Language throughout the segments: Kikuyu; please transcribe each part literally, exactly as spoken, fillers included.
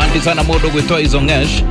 Asante sana mundu gwitwo Izongesh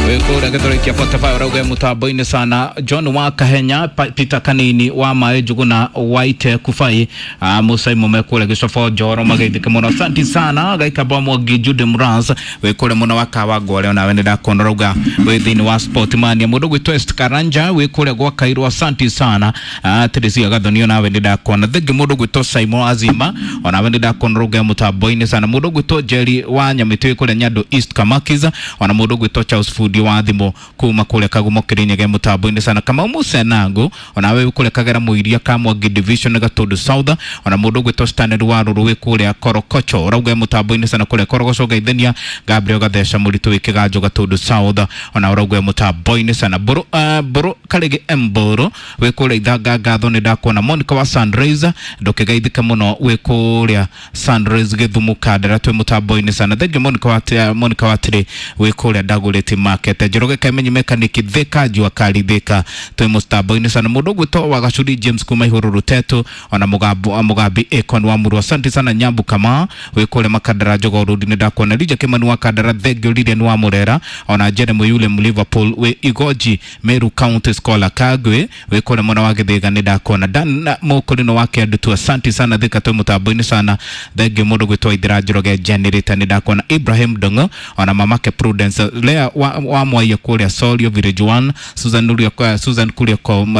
wikura githuri kia forty-five rauga mutambo-ini sana. John wa Kahenya, Peter Kanini wa Mae Njuguna White Kufai, uh, Musa Mume kule Gicofo Njoro mageithike muno. Asante sana Gaikamba Mwangi Jude Mraz wikure muno wa Kawangware onawe nĩ rauga wi thiini wa Sportmania. Mundu gwitwo Est Karanja wikure gwa Kairũ, asante sana. uh, Teresia Gathoni onawe nĩ ndakuona. Thengi mundu gwitwo Simon Azima onawe nĩ ndakuona rauga mutambo-ini sana. Mundu gwitwo Jerry wa Nyamĩtĩ wikure Nyando East Kamakiza, ona mundu gwitwo Charles Fundi wa thimo kuma kule Kagumo Kirinyaga mutambo-ini sana. Kamau Musenango onawe kule Kagera Muiria Kamwangi Division Gatundu South, ona mundu gwitwo Stanley wa Ruru wi kuria Korokocho rauga mutambo-ini sana kule Korogoco Gaithenia Gabriel Gatheca Muritu wi Kiganjo Gatundu South, ona rauga mutambo-ini sana. Mburu uh, Mburu Karigi Mburu wi kuria Ithanga Ngatho ni ndakuona. Monica wa Sunrise ndukigeithike muno wi kuria Sunrise Githumu Kandara twi mutambo-ini sana. Thengi Monica wa Monica wa Tiri wi kuria Ndaguriti Market. Njoroge Kaimenyi mekaniki Thika Jua Kali Thika twi mutambo-ini sana. Mundu gwitwo wa Gacuri James kuma Ihuru Rutetu, ona Mugambo Mugambi Akon wa Murwa, asante sana. Nyambu Kama wi kuria Makandara Jogoo Road ni ndakuona. Lija Kimani wa Kandara Thengio Lilian wa Murera, ona Jeremy Yule mu Liverpool wi Igoji Meru County Scholar Kagwe wi kuria mwena wa Githiga ni ndakuona. Dan Mukurino wa Kiandutu, asante sana Thika twi mutambo-ini sana. Thengio mundu gwitwo Ithira Njoroge Generator ni ndakuona. Ibrahim Dongo ona mamake Prudence Lea wa, wa Mwaiya kuria Sorio Village one, Susan Kuria Susan Kuria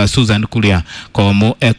Susan Kuria Komo Eko.